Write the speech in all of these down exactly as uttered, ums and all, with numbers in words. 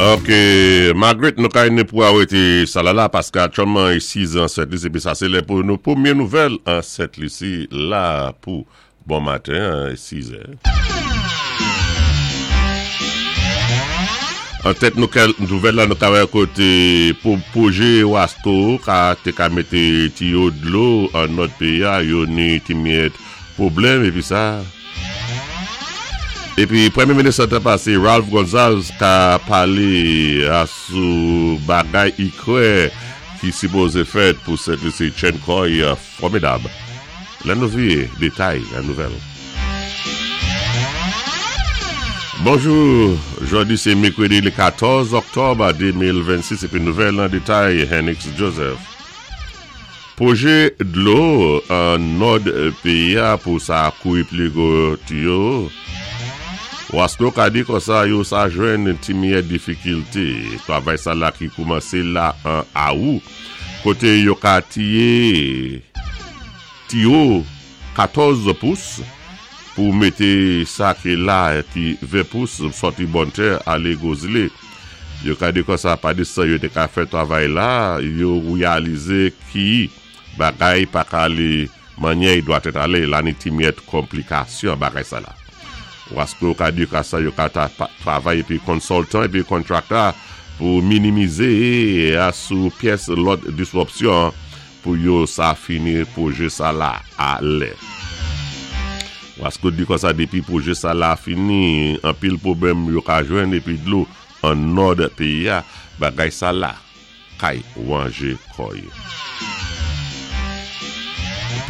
Ok, Margaret, nou kay ni pou awété sa la la paski aktyèlman i sis an Sent Lisi, épi sa sé lè pou nou pwémyé nouvèl an Sent Lisi la pou bon maten, sis è. An tèt nouvèl la nou ka wè koté pou pwojé Wasco ka té ka mété tiyo dlo an nòd péyi a, yo ni ti myèt pwoblèm épi sa. Épi Pwémyé Minis an tan pasé Ralph Gonsalves ka palé asou bagay i kwè ki sipozé fèt pou Sent Lisi tjenn kò'y fòmidab. Lè nou viwé détay an nouvèl. Bonjou, jòdi sé mèkwédi lé katòz òktòb de mil vennsis épi nouvèl an détay, Henix Joseph. Pwojé dlo an nòd péyi a pou sa kouri pli gwo tiyo. Wasco ka di konsa yo sa jwenn ti myèt difikilté. Twavay sa la ki koumansé la an awou. Koté yo ka tiyé tiyo katòz pous pou mété sa ki la ki ven pous sòti Bonne Terre alé Gwo Zilé. Yo ka di konsa pa di sa yo té ka fè twavay la, yo wéyalizé ki bagay pa ka alé mannyè i dwatèt alé, la ni ti myèt konplikasyon bagay sa la. Wasco ka di ka sa yo ka ta twavay épi consultant épi contractor pou minimizé asou pyès lòt diswopsyon pou yo sa fini pwojé sa la a lè. Wasco di konsa dépi pwojé sa la fini, anpil pwoblèm yo ka jwenn épi dlo an nòd péyi a, bagay sa la kay wanjé kò'y.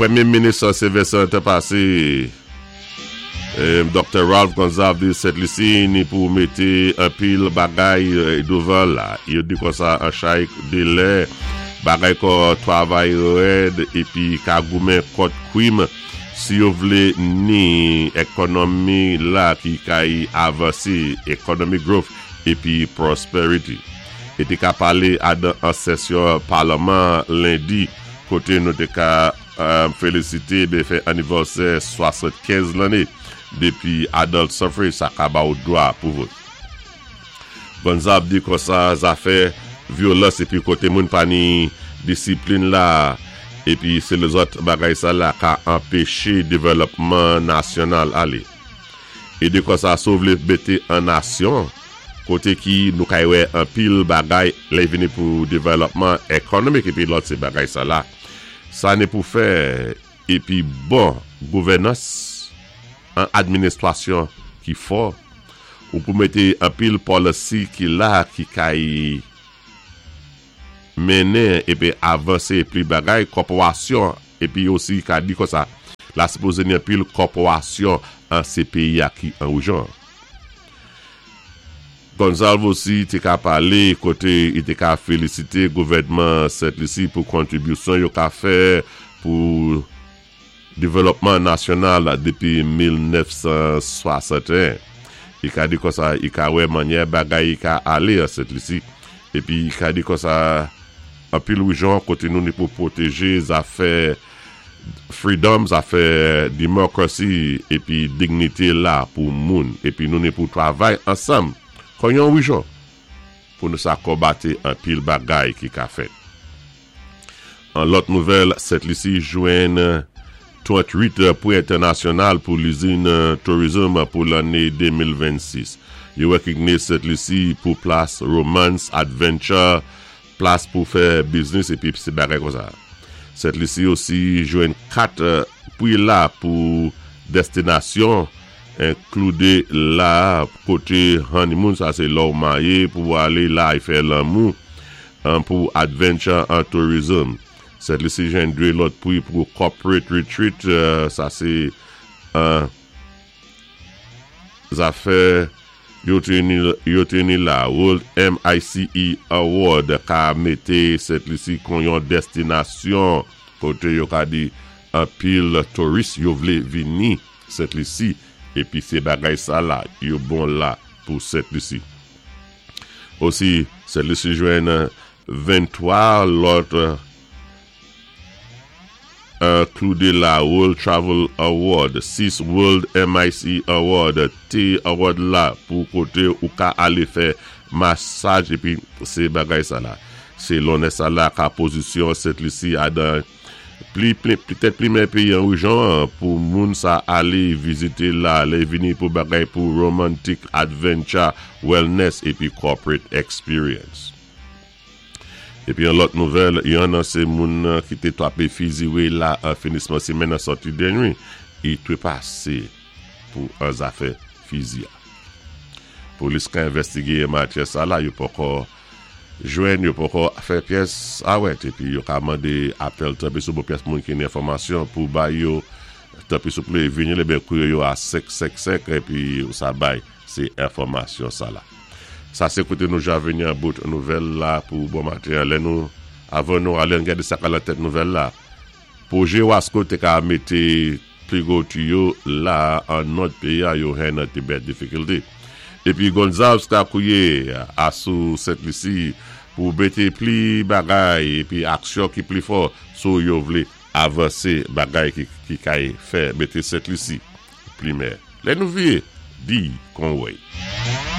Pwémyé Minis sèvis an tan pasé, Doktè Ralph Gonsalves di Sent Lisi ni pou mété anpil bagay douvan la. Yo di konsa an chay délè, bagay kon twavay rèd épi ka goumen kont kwim si yo vlé ni ékonomi la ki kay avansé, economic growth épi prosperity. I té ka palé adan an sésyon palman lendi koté nou té ka félisité bé fè anivèsè swasannkenz lanné dépi adult suffrage sa ka ba ou dwa pou vòt. Gonsalves di konsa zafè vyolans épi koté moun pa ni disiplin la épi sé lézòt bagay sa la ka anpéché dévèlopman nasyonal alé. I di konsa si ou vlé mété an nasyon koté ki nou kay wè anpil bagay lè vini pou dévèlopman ékonomik épi lòt sé bagay sa la. Sa ni pou fè épi bon gouvènans an administwasyon ki fò ou pou mété anpil policy ki la ki kay mennen épi avansé pli bagay kòporasyon épi osi ka di konsa la sipozé ni anpil kòporasyon an sé péyi a ki an woujan. Gonsalves osi té ka palé koté i té ka félisité gouvèdman Sent Lisi pou kontribisyon yo ka fè pou dévèlopman nasyonal dépi mil nèf san swasanteyen. I ka di konsa i ka wè mannyè bagay i ka alé an Sent Lisi épi i ka di konsa anpil woujan koté nou ni pou pwotéjé zafè freedom, zafè democracy épi dignité la pou moun épi nou ni pou twavay ansanm kon yon woujan pou nou sa konbaté anpil bagay ki ka fèt. An lòt nouvèl, Sent Lisi jwenn tranntwit pri entènasyonal pou lizin tourism pou lanné de mil vennsis. Yo wékigné Sent Lisi pou plas romance, adventure, plas pou fè business épi sé bagay konsa. Sent Lisi osi jwenn kat pri la pou destinasyon enkloudé la koté honeymoon, sa sé lò ou maryé pou alé la y fè lanmou pou adventure and tourism. Sent Lisi jwenn dwé lòt pri pou corporate retreat, sa sé zafè yo té ni la World M I C E Award ka mété Sent Lisi kon yon destinasyon koté yo ka di anpil touris yo vlé vini Sent Lisi épi sé bagay sa la yo bon la pou Sent Lisi. Osi, Sent Lisi jwenn venntwa lòt enkloudé la World Travel Award, sis World M I C E Award, T Award la pou koté ou ka alé fè Masaj épi sé bagay sa la. Sé lonè sa la ka pozisyon Sent Lisi a dan pli, pli, petèt pli mèyè péyi an réjyon pou moun sa alé vizité la, alé vini pou bagay pou romantic adventure, wellness épi corporate experience. Épi yon lòt nouvèl, yon nan sé moun ki té twapé fiziwé la an finisman sémèn nan sòti dènwi, i twé pasé pou an zafè fizi a. Polis ka envèstigé matyè sa la, yo poko jwenn, yo poko fè pyès awèt, épi yo ka mandé apèl tanpwi sou pyès moun ki ni enfòmasyon pou bay yo, tanpwi souplé vini lé ben kouye yo a senk senk senk, épi sa bay sé enfòmasyon sa la. Sa sé koté nou ja vini an bout nouvèl la pou bon maten, lè nou, avan nou alé an gadé sa ka lan tèt nouvèl la. Pwojé Wasco té ka mété pli gwo tiyo la an nòd péyi a yo hen nan té bèt difikilté. Épi Gonzalez ka kouyé asou Sent Lisi pou mété pli bagay épi aksyon ki pli fò sou yo vlé avansé bagay ki, ki kay fè mété Sent Lisi pli mèyè. Lè nou vyé, di kon wèy.